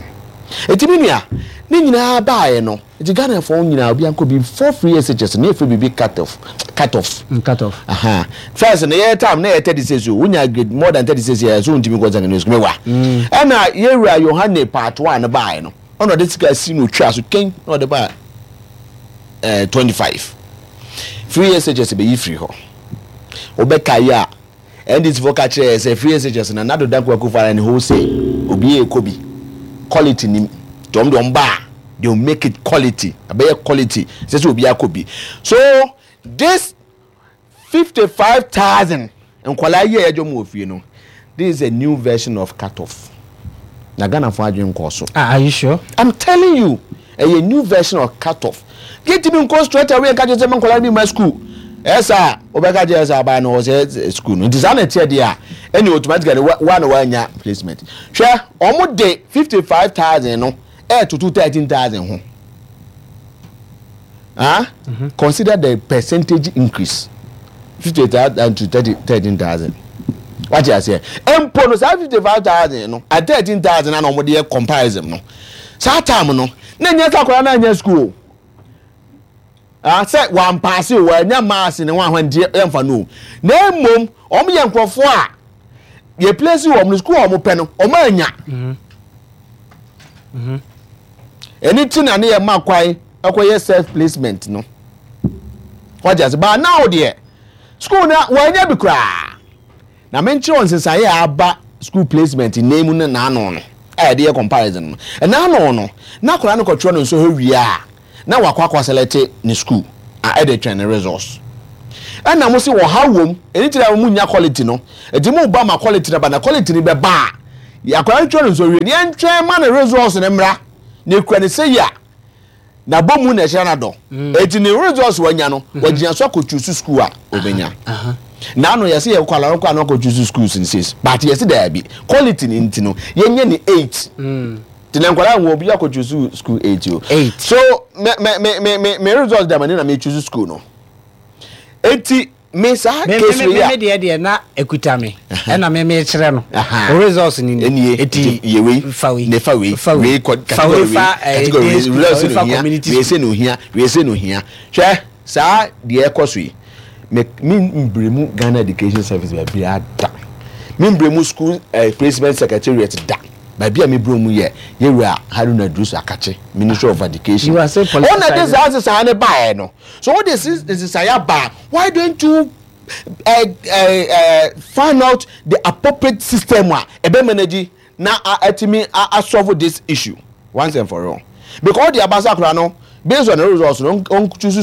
B: Enti me nua, ne nyinaa baeɛ no, nti Ghanafoɔ nyinaa obiara nkɔ bi before free S H S no, na yɛfrɛ biribi cut off. Cut off.
A: Mm, cut off.
B: Aha. First no yɛ time na yɛ thirty-six o. Wonya grade more than thirty-six yɛ so wontumi nkɔ secondary school. Mewa. Ɛna yɛwura Yohane part one no baeɛ no, ɔna ɔde sika si no otwa so kɛn na ɔde ba ɛɛ twenty-five. Free S H S bɛyi firi hɔ. Wobɛka yi a, N D C foɔ ka kyerɛ yɛ sɛ free S H S na Nana Dankwa Akufo-Addo ne wholesale obi yɛ kɔ bi quality nim nti wɔn de wɔn ba a, they will make it quality, ɛbɛyɛ quality sɛ sɛ obi akɔ bi. So this fifty five thousand nkwadaa yi a yɛgye wɔn wɔ fie no, this is a new version of cut off na Ghana fo adwene nkɔɔ so.
A: Ah, are you sure?
B: I'm telling you, ɛyɛ new version of cut off. Yɛntumi nkɔ straight away nka kyerɛ sɛ ma nkwadaa bi ma school. Ɛsɛ a wobɛka kyerɛ sɛ aban no wɔ sɛ school no nti saa na ɛteɛ deɛ a, ɛne automatically wa wa na wanya placement. Hwɛ, wɔn de fifty five thousand no ɛɛtoto thirteen thousand ho. Ah, mm-hmm. Consider the percentage increase, fifty thousand to thirty thirteen thousand. Wate aseɛ? Mpo no saa fifty five thousand no at thirteen thousand na wɔn de yɛ comparison no, saa time no na nyɛ sɛ akwadaa na nyɛ school o. Ah, sɛ wampaase o, wanya maase ne ho ahwan nti yɛmfa no o, na mmom wɔn yɛ nkurɔfoɔ a yɛ place wɔn no school a wɔn pɛ no wɔn anya. Ɛne ti na ne yɛ ma kwan ɛkɔyɛ self placement no. Wagye ase? But now deɛ, school na wɔanya bi koraa na menkyerɛ wɔn nsesaeɛ a aba school placement nnan mu no. N'ano no a yɛde yɛ comparison no, ɛn'ano no na akwadaa no kɔtwerɛ no nsɔhwɛ wie a, na wakɔ akɔ select ne school a ɛde twɛn ne results. Ɛna mo se ɔha wom, ɛne ti na mo nya quality no, ɛti mo ba ma quality no ba na quality no bɛba a, akwadaa no twerɛ no nsɔhwɛ wie ne yɛntwɛn ma ne results no mmra na ekura ne sɛ yi a n'abɔ mu na ɛhyɛ n'adɔ. Eti ne results wanya no, wagyina so akɔ choose school a obenya. N'ano yɛsɛ yɛ kɔ alaro kɔ ano akɔ choose schools in six, but yɛsɛ daabi, quality ne nti no yɛnyɛ ne eight. Ti na nkwadaa wɔ obi akɔ choose school eight o.
A: Eight.
B: So me me me me me me results dama ne na me choose school no. Eti me saa
A: me
B: case
A: me
B: wei
A: me
B: a
A: me deɛ deɛ na ekuta me, ɛna me me kyerɛ no o, results ni ni.
B: Enie.
A: Eti
B: yɛ wei
A: fa wei
B: ne fa wei
A: fa wei
B: wei kɔ
A: fa wei
B: category wei
A: fa ɛɛ
B: category
A: day
B: wei
A: school
B: results
A: fa wei
B: no
A: fa
B: ohia
A: community
B: wei
A: school.
B: se no ohia, wei se no ohia. Hwɛ, saa deɛ ɛkɔ so yi. Me me mbere mu Ghana Education Service baabi ada, me mbere mu School uh, Placement Secretariat da. Baabi a me bere mu yɛ yɛwura Haruna Iddrisu Akakye, Ministry of Education.
A: You are still
B: Ɔna de saa nsesan ne baeɛ no so, wɔde nsesan aba, why don't you uh, uh, uh, find out the appropriate system a ɛbɛ manage na ɛtumi asolve this issue once and for all? Because ɔde abasa akora no, based on the results no, ɔn choose